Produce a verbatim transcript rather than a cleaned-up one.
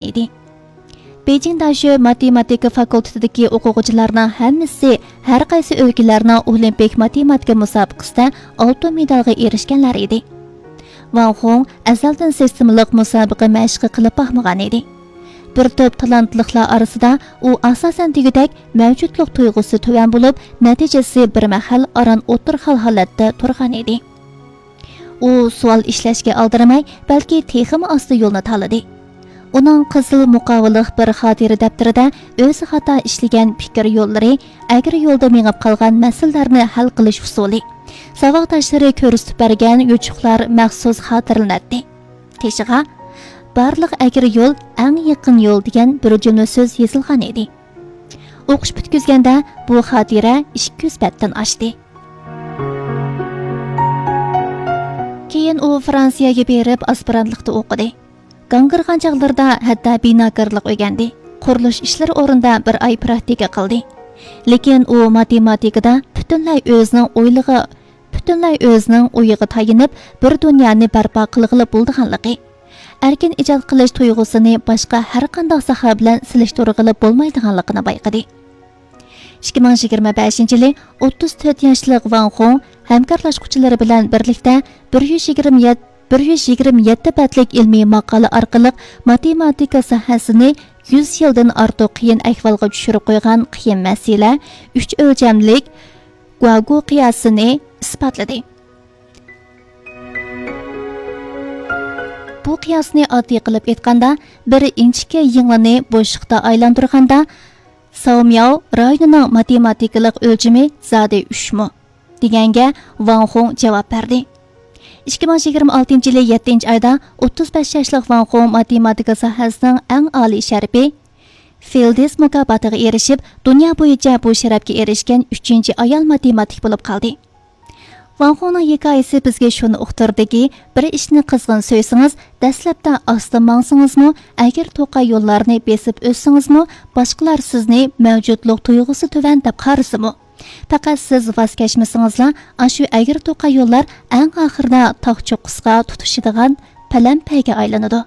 ئىدى. بېيجىڭ داشۆ ماتېماتىكا فاكۇلتېتىدىكى ئوقۇغۇچىلارنىڭ ھەممىسى ھەر قايسى ئۆلكىلەرنىڭ ئولىمپىك ماتېماتىكا مۇسابىقىسىدە ئالتۇن مېدالغا ئېرىشكەنلەر ئىدى. ۋاڭ خۇڭ ئەزەلدىن سىستېمىلىق مۇسابىقە مەشقى قىلىپ باقمىغان ئىدى. بىر توپ تالانتلىقلار ئارىسىدا ئۇ ئاساسەن دېگۈدەك مەۋجۇتلۇق تۇيغۇسى تۆۋەن بولۇپ، نەتىجىسى بىر مەھەل ئاران ئوتتۇرا خىل ھالەتتە تۇرغان ئىدى. ئۇ سوئال ئىشلەشكە ئالدىرىماي، بەلكى تېخىمۇ ئاستا يولنى تاللىدى. ئۇنىڭ قىزىل مۇقاۋىلىق بىر خاتىرە دەپتىرىدە ئۆزى خاتا ئىشلىگەن پىكىر يوللىرى، ئەگرى يولدا مېڭىپ قالغان مەسىلىلەرنى ھەل قىلىش ئۇسۇلى، ساۋاقداشلىرى كۆرسىتىپ بەرگەن يوچۇقلار مەخسۇس خاتىرىلىنەتتى. قېشىغا «بارلىق ئەگرى يول ئەڭ يېقىن يول» دېگەن بىر جۈملە سۆز يېزىلغان ئىدى. ئوقۇش پۈتكۈزگەندە بۇ خاتىرە ئىككى يۈز بەتتىن ئاشتى. كېيىن ئۇ فرانسىيەگە بېرىپ ئاسپىرانتلىقتا ئوقۇدى. گاڭگىرىغان چاغلىرىدا ھەتتا بىناكارلىق ئۆگەندى. قۇرۇلۇش ئىشلىرى ئورنىدا بىر ئاي پراكتىكا قىلدى. لېكىن ئۇ ماتېماتىكىدا پۈتۈنلەي ئۆزىنىڭ ئويلىغا، پۈتۈنلەي ئۆزىنىڭ ئويىغا تايىنىپ، بىر دۇنيانى بەرپا قىلغىلى بولىدىغانلىقى، ئەركىن ئىجاد قىلىش تۇيغۇسىنى باشقا ھەر قانداق ساھە بىلەن سېلىشتۇرغىلى بولمايدىغانلىقىنى بايقىدى. ئىككى مىڭ يىگىرمە بەشىنچى يىلى ئوتتۇز تۆت ياشلىق ۋاڭ خۇڭ ھەمكارلاشقۇچىلىرى بىلەن بىرلىكتە بىر يۈز يىگىرمە يەتتە، بىر يۈز يىگىرمە يەتتە بەتلىك ئىلمىي ماقالە ئارقىلىق ماتېماتىكا ساھەسىنى يۈز يىلدىن ئارتۇق قىيىن ئەھۋالغا چۈشۈرۈپ قويغان قىيىن مەسىلە، ئۈچ ئۆلچەملىك گۇاگۇ قىياسىنى ئىسپاتلىدى. بۇ قىياسنى ئاددىي قىلىپ ئېيتقاندا، بىر ئىنچىكە يىڭنىنى بوشلۇقتا ئايلاندۇرغاندا، ساۋمياۋ رايونىنىڭ ماتېماتىكىلىق ئۆلچىمى زادى ئۈچمۇ؟ دېگەنگە ۋاڭ خۇڭ جاۋاب بەردى. ئىككى مىڭ يىگىرمە ئالتىنچى يىلى يەتتىنچى ئايدا ئوتتۇز بەش ياشلىق ۋاڭ خۇڭ ماتېماتىكا ساھەسىنىڭ ئەڭ ئالىي شەرىپى فىلدىس مۇكاپاتىغا ئېرىشىپ، دۇنيا بويىچە بۇ شەرەپكە ئېرىشكەن ئۈچىنچى ئايال ماتېماتىك بولۇپ قالدى. ۋاڭ خۇڭنىڭ ھېكايىسى بىزگە شۇنى ئۇقتۇردىكى، بىر ئىشنى قىزغىن سۆيسىڭىز، دەسلەپتە ئاستا ماڭسىڭىزمۇ، ئەگرى توقاي يوللارنى بېسىپ ئۆتسىڭىزمۇ، باشقىلار سىزنى مەۋجۇتلۇق تۇيغۇسى تۆۋەن دەپ قارىسىمۇ، پەقەت سىز ۋاز كەچمىسىڭىزلا، ئاشۇ ئەگرى توقاي يوللار ئەڭ ئاخىرىدا تاغ چوققىسىغا تۇتىشىدىغان پەلەمپەيگە ئايلىنىدۇ.